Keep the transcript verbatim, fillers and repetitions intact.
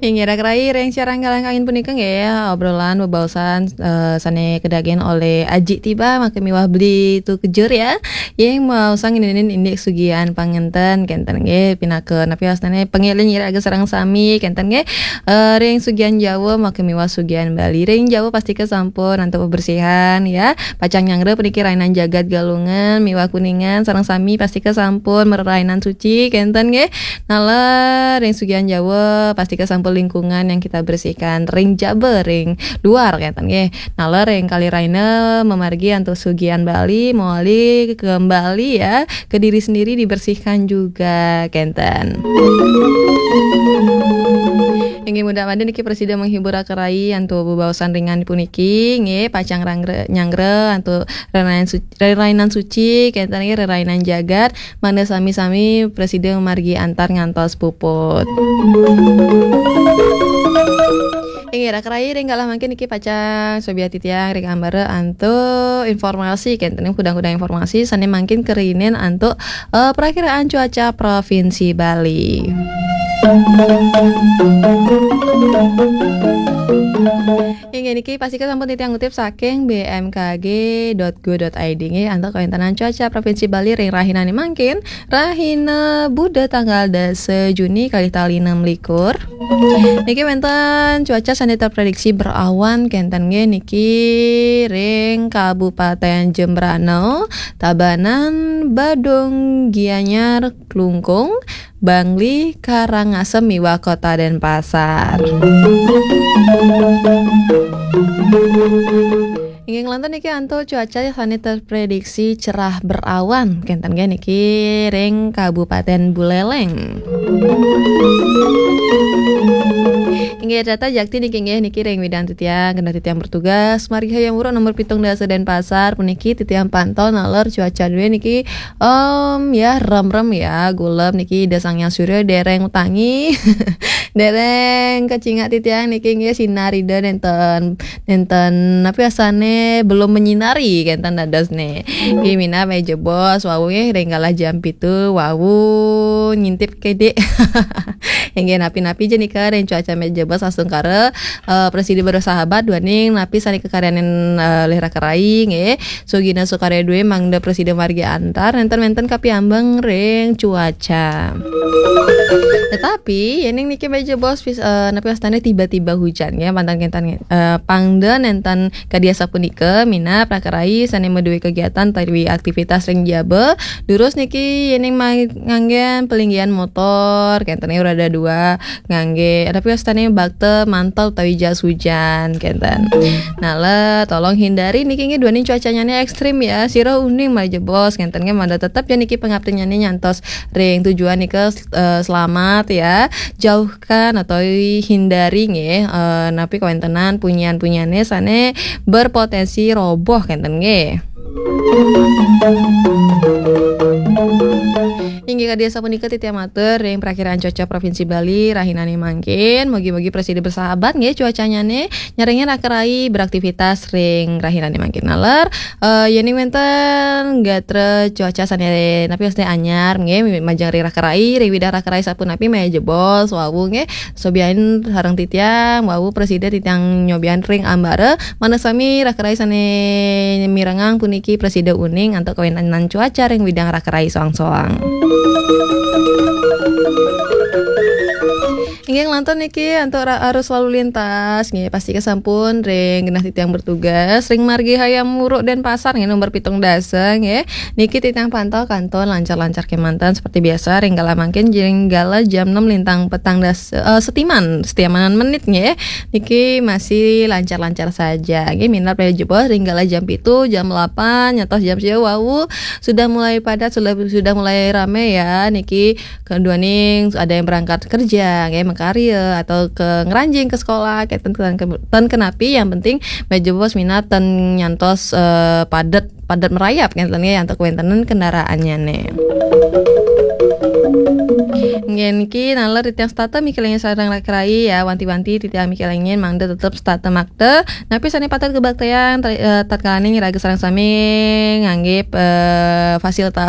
Inggih, raka rai, ring siaran Galang Kangin punika nggih, obrolan bebaosan, eh, sane kadagen olih Aji Tiba, maka miwah Beli Tu Kejur ya. Inggih, maosang ngeninin indik sugihan pangenten kenten nggih, pinaka napi wastane pangeling iraga sareng sami kenten nggih. Eh, ring sugihan Jawa maka miwah sugihan Bali. Ring Jawa pastika sampun antuk bebersihan ya. Pacang nyanggra puniki rainan jagat Galungan miwah Kuningan sareng sami pastika sampun marerainan suci kenten nggih. Naler ring sugihan Jawa pastika sampun lingkungan yang kita bersihkan. Ring jaba ring luar kenten nggih. Naler ring Kali Raina mamargi antuk sugihan Bali mawali kembali ya, ke diri sendiri dibersihkan juga kenten. Inggih, mudah-mudahan niki prasida menghibur raka rai antuk bebaosan ringan puniki nggih, pacang ranggra-, nyanggra antuk rerainan su-, rerainan suci kenten nggih, rerainan jagat, mangda sami-sami prasida margi antar ngantos puput. Inggih, raka rai, ring galah mangkin niki pacang sobiahang titiang ring ambara antuk informasi kenten, hudang-hudang informasi sane mangkin karihinin antuk, eh, Prakiraan Cuaca Provinsi Bali. Inggih, niki pastika sampun titiang ngutip saking B M K G dot go dot I D nggih, antuk kawentenan cuaca Provinsi Bali ring rahinane mangkin, rahina Buda tanggal dasa Juni kalih tali enam likur. Niki wenten cuaca sane terprediksi berawan kenten nggih niki ring Kabupaten Jembrana, Tabanan, Badung, Gianyar, Klungkung, Bangli, Karangasem miwah Kota Denpasar. Inggih, nglantur niki antuk cuaca sane terprediksi cerah berawan kenten nggih niki ring Kabupaten Buleleng. Inggih, tata jakti niki nggih niki ring widang titiang, genah titiang bertugas margi Hayam Wuruk nomor pitung dasa Denpasar puniki titiang pantau naler cuaca due niki, em, ya, remrem ya, gulem niki Ida Sang Hyang Surya dereng utangi. Dereng kacingak titiang niki nggih sinar Ida nenten, nenten napi asane belum menyinari kenten dados ne. Nggih minab meja bos wau nggih ring galah jam pitu wau ngintip kedik. Inggih napi-napi ja nika ring cuaca meja bos astungkara, eh, prasida bersahabat duaning napi sane kakaryanin, eh, olih raka rai nggih. Sugina sukarya due mangda prasida margi antar nenten-nenten kapiambeng ring cuaca. Tetapi yening niki meja bos pis-, eh, napi wastane tiba-tiba hujan ya, mantan kenten, eh, pangda nenten kadi asapunika, minab raka rai sane madue kegiatan utawi aktivitas ring jaba, durus niki yening ma-, nganggen palinggihan motor, kenten roda dua, ngangge, napi wastane bakta mantel utawi jas hujan, kenten. Naler, tolong hindari niki nggih duaning cuacanyane ekstrim ya. Sira uning malih jebos, kenten nggih mangda tetep ya niki pangaptinyane nyantos ring tujuan nika, eh, selamat ya. Jauhkan atau hindari nggih, eh, napi kawentenan punyan-punyane sane berpotensi roboh, kenten nggih. Inggih kadi asapunika titiang matur ring Prakiraan Cuaca Provinsi Bali rahinane mangkin. Mugi-mugi prasida bersahabat nggih cuacanyane, nyarengin raka rai beraktivitas ring rahinane mangkin. Naler, eh, yening wenten gatra cuaca sane napi wastane anyar nggih, majeng ring raka rai, ring widang raka rai sapunapi malih jebos wau nggih. Sobiahin sareng titiang, wau prasida titiang nyobiahin ring ambara, manah sami raka rai sane mirengang puniki prasida uning antuk kawentenan cuaca ring widang raka rai soang-soang. Inggih nglantur niki antuk ra-, arus lalu lintas nggih, pastika sampun ring genah titiang bertugas ring margi Hayam Wuruk Denpasar nggih nomor pitung dasa nggih. Niki titiang pantau kantun lancar-lancar kemanten seperti biasa ring galah mangkin ring galah jam enam lintang petang dasa, eh, setiman, setimanan menit nggih. Niki masih lancar-lancar saja. Nggih, minab malih jebos ring galah jam pitu, jam delapan, nyantos jam sia wau sudah mulai padat, sudah, sudah mulai rame ya. Niki keduaning ada yang berangkat kerja, nggih, makarya atau ke ngranjing ke sekolah, kenten, kenten, kenten kenapi yang penting malih jebos minab ten nyantos, eh, padat padat merayap kenten nggih antuk kawentenan kendaraannyane. Nggih niki naler titiang setata mikelingin sareng raka rai ya, wanti-wanti titiang mikelingin mangda tetep setata makta. Napi sane patut kabaktayang tra-, eh, tatkalane iraga sareng sami ngangge, eh, fasilitas